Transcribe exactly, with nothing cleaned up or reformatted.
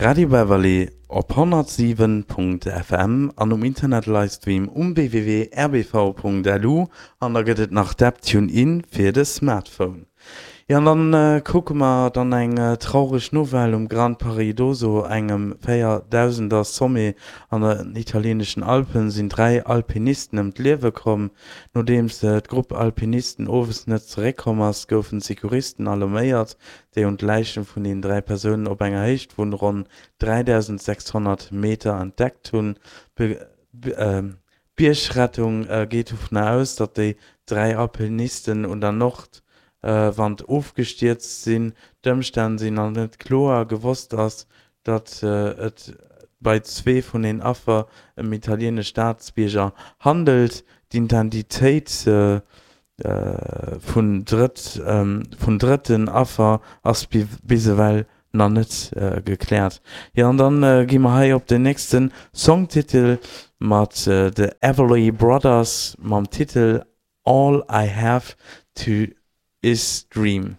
Radio Beverly op honnertsiwen Punkt F M an um Internet Livestream um W W W Punkt R B V Punkt L U an da gëtt et nach d'App TuneIn fir de Smartphone. Jo, an dann kucke mer dann eng traureg Nouvelle: Um Gran Paradiso, engem véierdausender Sommet an den italieeneschen Alpen, sinn dräi Alpinisten ëm d'Liewe komm. Nodeems d'Grupp Alpinisten owes net zeréckkomm ass, goufen d'Secouristen alarméiert, déi hunn d'Läiche vun den dräi Persounen op enger Héicht vun ronn dräidausensechshonnert Meter entdeckt hunn. D'Biergrettung geet dovun aus, datt déi dräi Alpinisten un der Nordwand ofgestierzt sinn. D'Ëmstänn sinn nach net kloer. Gewosst ass, datt et bei zwee vun den Affer ëm italieenesch Staatsbierger handelt. D'Identitéit vum drëtten Affer ass bis ewell nach net gekläert. Jo, an dann gi mer hei op den nächsten Songtitel mat The Everly Brothers mam Titel All I Have To Is Dream.